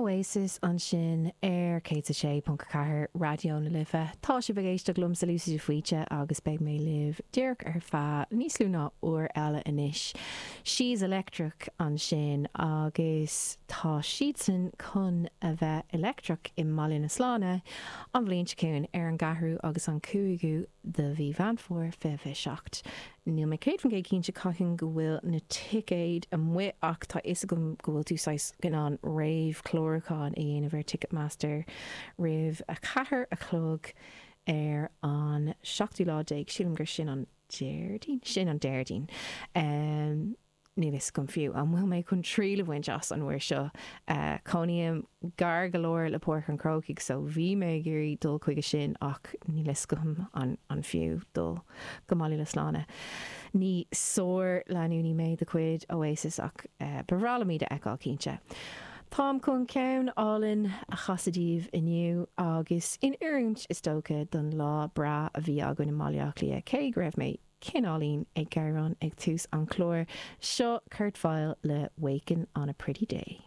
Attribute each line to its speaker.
Speaker 1: Oasis ansin ar 106.4 Raidió na Life. Tá sibh ag éisteacht liomsa Lucy de Faoite agus beidh mé libh díreach ar feadh níos lú ná uair eile anois. She's Electric ansin agus tá siadsan chun a bheith electric i mBaile na Sláine an bhliain seo chugainn ar an gceathrú agus an cúigiú de mhí Mheán Fómhair 2027. Níl mé 100% cinnte cathain go bhfuil na ticéid amuigh ach tá fhios agam go bhfuil tú saghas in ann réamhchlárúchán a dhéanamh ar Ticketmaster roimh a ceathair a chlog ar an seachtú lá déag, sílim gur sin an Déardaoin? Sin an Déardaoin. Níl fhios agam fiú an bhfuil mé chun triail a bhaint as an uair seo. Cónaím gar go leor le Páirc an Chrócaigh so bhí mé ag iarraidh dul chuige sin ach níl fhios agam an fiú dul go Baile na Sláine. Ní sár-leanúnaí mé de chuid Oasis ach ba bhreá liom iad a fheiceáil cinnte. Táim chun ceann álainn a chasadh daoibh inniu agus in oiriúint is dócha don lá breá a bhí againn i mBaile Átha Cliath cé go raibh mé cineáilín ag gearán ag tús an chláir. Seo Kurt Vile le Wakin' on a Pretty Day.